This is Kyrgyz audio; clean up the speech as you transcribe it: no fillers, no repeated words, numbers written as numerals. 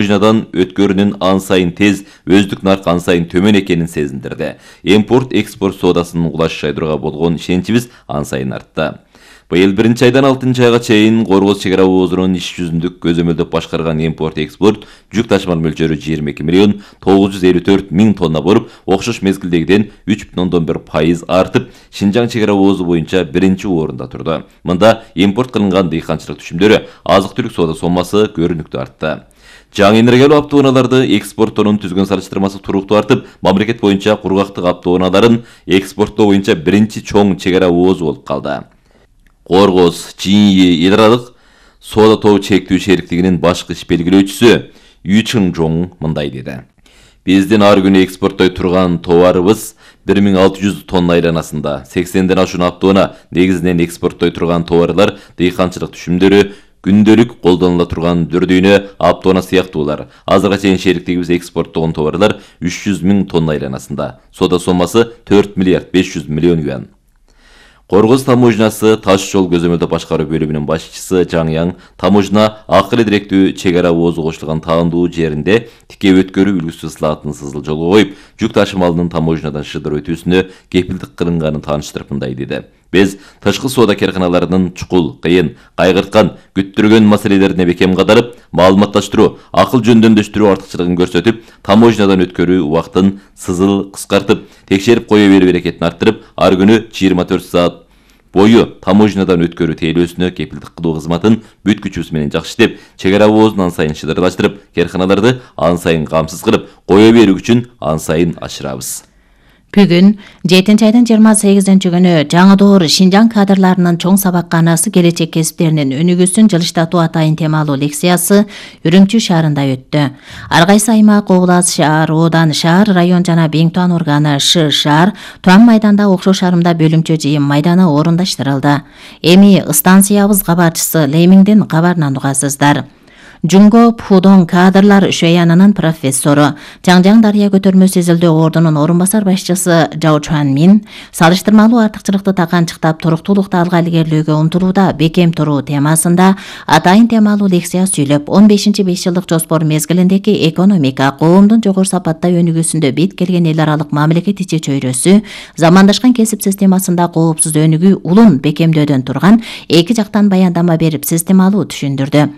таможнядан өткөрүүнүн ан сайын тез, өздүк нарк ан сайын төмөн экенин сезиндирди. Импорт-экспорт соодасынын улаш жайдырууга болгон ишеничибиз ан сайын артты. Быйыл 1-айдан 6-айга чейин Коргоз чек ара оозунун иш жүзүндүк көзөмөлдөп башкарган импорт-экспорт жүк ташымал мөлчөрү 22 миллион 954 миң тонна болуп, окшош мезгилдегиден 3,1% артып, Шинжаң чек ара оозу боюнча 1-орунда турду. Мында импорт кылынган дыйканчылык түшүмдөрү, азык-түлүк соода соммасы көрүнүктүү артты. Жаңы энергиялуу автоунааларды экспорттоонун түзгөн салыштырмасы туруктуу артып, мамлекет боюнча кургактык автоунааларын экспорттоо боюнча биринчи чоң чек ара оозу болуп калды. Коргоз, Чиньи эл аралык соода тобу чектүү шериктигинин башкы иш белгилөөчүсү Yu Cheng-jong мындай деди. Биздин ар күнү экспорттой турган товарыбыз 1600 тонна айланасында. 80ден ашуун автоунаа негизинен экспорттой турган товарлар, дыйканчылык түшүмдөрү, күндөлүк колдонула турган дүрдүйнө автоунаа сыяктуулар. Азырга чейин шериктигибиз экспорттогон товарлар 300 миң тонна айланасында. Соода соммасы 4 миллиард 500 миллион юан. Коргоз таможнясы таш жол көзөмөлдөп башкаруу бөлүмүнүн башчысы Жаң Яң таможня акыл директүү чек ара оозу кошулган таандуу жеринде тике өткөрүү үлгүсү сылаатын сызыл жолго коюп, жүк ташымалынын таможнядан шыдыр өтүүсүнө кепилдик кылынганын тааныштырып мындай деди. Биз тышкы соода карканаларынын чукул, кыйын, кайгырткан, күттүргөн маселелерине бекем кадарып, маалыматташтыруу, акыл жөндөмдөштүрүү артыкчылыгын көрсөтүп, таможнядан өткөрүү убактын сызыл кыскартып, текшерип кое берүү берекетин арттырып, ар күнү 24 саат бою таможнядан өткөрүү тейлөөсүнө кепилдик кылуу кызматын бүт күчүбүз менен жакшы иштеп, чек ара оозун ан сайын шыдырлаштырып, карканаларды ан сайын камсыз кылып, кое берүү күчүн ан сайын ашырабыз. Бүгүн 7-айдын 28-күнү жаңы доор Шинжаң кадрларынын чоң сабакканасы келечек кесиптеринин өнүгүүсүн жылыштатуу атайын темалуу лекциясы Үрүмчү шаарында өттү. Ар кайсы аймак, област, шаар, оодан, шаар, район жана Беңтуан органы шаар Туан майданда окшош шаарымда бөлүмчө жыйын майданы орундаштырылды. Эми станциябыз кабарчысы Леймиңдин кабарынан угасыздар. Жунго Пудон кадрлар шөянынын профессору, Жаңжаң Дарыя көтөрмө сезилдөө ордунун орун басар башчысы Жао Чуан Мин салыштырмалуу артыкчылыкты таканчыктап туруктуулукту алга илгерлөөгө умтулууда бекем туруу темасында атайын темалуу лекция сүйлөп, 15-5 жылдык жоспор мезгилиндеги экономика, коомдун жогору сапатта өнүгүүсүндө бет келген эл аралык мамлекет ичи чөйрөсү, замандашкан кесип системасында коопсуз өнүгүү улун бекемдөөдөн турган эки жактан баяндама берип системалуу түшүндүрдү.